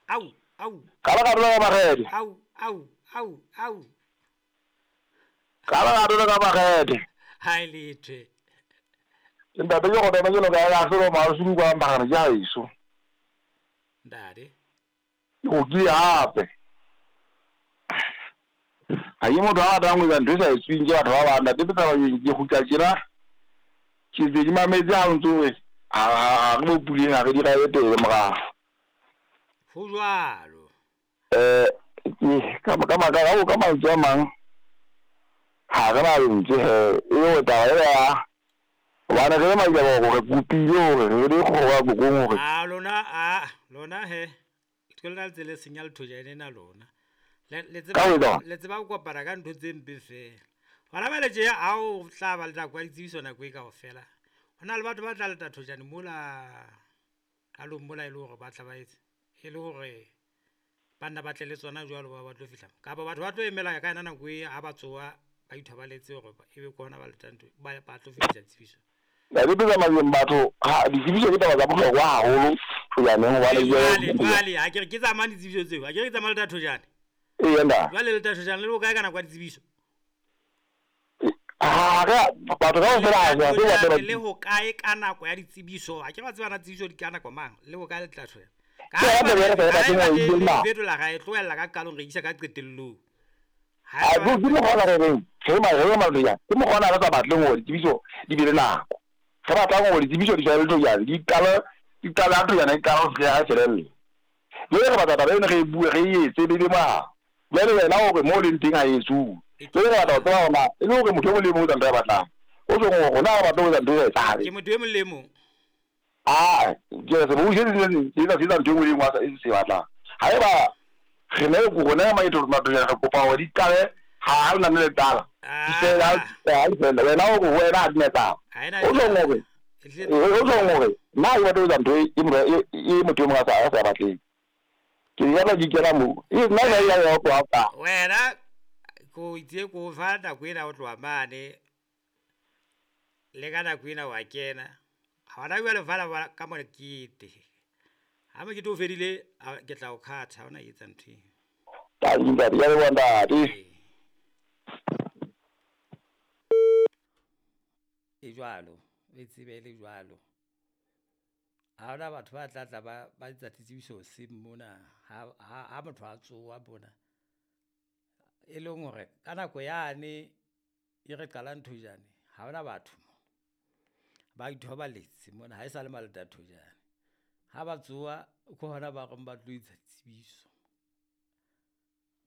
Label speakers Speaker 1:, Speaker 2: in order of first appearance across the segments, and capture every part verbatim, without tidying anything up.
Speaker 1: Au, au.
Speaker 2: Ka ba ka dula ka makgethe.
Speaker 1: Au, au, au, au.
Speaker 2: Ka ba ka dula ka makgethe.
Speaker 1: Ha e lethwe.
Speaker 2: Ntate ke go tena ke loka ya selo ma se kwa magana ja iso.
Speaker 1: Ntate.
Speaker 2: Ke go kile hape. Ha ye motho a ratang ho etsa ntho e sa etsweng ke batho ba bang, ntate taba ke kgutla tjena. Ke ntse ke mametse ha o ntso re ha re mo puleng ha re di rabe pele morao.
Speaker 1: Ho jwalo.
Speaker 2: Eh ke ka ka maka ka mantswe a mang ha re na lentswe he e le taba e ya hobane re le majaboko re kopile hore re le kgoro ya kokong hore
Speaker 1: a lona a lona he ke lona le tsele senya lethojane ena lona. Le le tseba le tseba ho kopana ka ntho tse mpe fela. Hona bale tje ha o tla ba le nako ya ditsebiso nako e kaofela. Ho na le batho ba tla leta thojane mola qalong mola e le hore ba tla ba etse e le hore banna ba tle le tsona jwalo ba ba tlo fihla. Kapa batho ba tlo emela ka yona nako e ha ba tsoha ba ithobaletse hore ebe ke hona ba letang ntho ba ba tlo fihla tsebiso.
Speaker 2: Ntate tsamayeng batho ha ditsebiso ke taba tsa bohlokwa haholo thojaneng hobane
Speaker 1: jwale jwale ha ke re ke tsamaya ditsebiso tseo ha ke re ke tsamaya leta thojane.
Speaker 2: Ee nda.
Speaker 1: Jwale leta thojane le bokae ka nako ya ditsebiso?
Speaker 2: Ha re batho kaofela ha se ba
Speaker 1: le ho kae ka nako ya ditsebiso ha ke ba tseba na tsebiso di ka nako mang le ho kae le tla thojane. Ka ha fetola ga e tlohella ka qalong re isa ka qetellong.
Speaker 2: Ha ke mokgwa re reng re ma re ma ya ke mokgwa re sa batleng hore ditsebiso di be le nako. Re batlang hore ditsebiso di tshwane le thojane di qala di qala thojane e qala ho fihla ha felelle. Le re batla taba ena re e bue re e etse be be ma. Jwale wena hore mo leng teng ha e etsuwe. Jwale re batla ho tseba hore na e le hore motho e mong le mong o etsa ntho a e batlang. O tjhong hore rona ha re batle ho etsa ntho e sa etsahale.
Speaker 1: Ke motho e mong le mong.
Speaker 2: Ah, ke se bo se se se se etsa ntho e nngwe le e nngwe a se batlang. Haeba re ne rona maeto mathojane re kopa hore di qale ha le nane le qala. Di fele ha di fele wena hore wena ha di na taba. O tjhong hore o tjhong hore nna ha ke batle ho etsa ntho e e motho e mong a sa a sa batleng. Ke ya ba di kena mo. E nna ya ya ya tloha ka.
Speaker 1: Wena ko itse ko fa nako ena o tloha mane le ka nako ena wa kena. Ha hona jwale fala ka mokete. Ha mokete o fedile ke tla o khatha ha ona etsa ntho eo.
Speaker 2: Ntate ntate ya leboha ntate.
Speaker 1: E jwalo, e tsebe le jwalo. Ha hona batho ba tla tla ba ba etsa ditsebiso hoseng mona ha ha motho a tsoha mona. E leng hore ka nako yane e re qalang thojane ha hona batho mo. Ba ithobaletse mona ha e sa le maleta thojane. Ha ba tsoha ke hona ba reng ba tlo etsa tsebiso.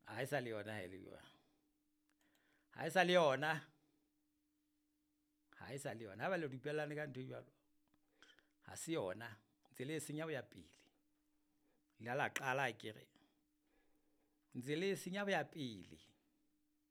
Speaker 1: Ha e sa le yona ha e le jwalo. Ha e sa le yona. Ha e sa le yona. Ha ba le dupellane ka ntho e jwalo. Ha se yona. Ntse le e senya ho ya pele. Le la qala akere. Ntse le e senya ho ya pele.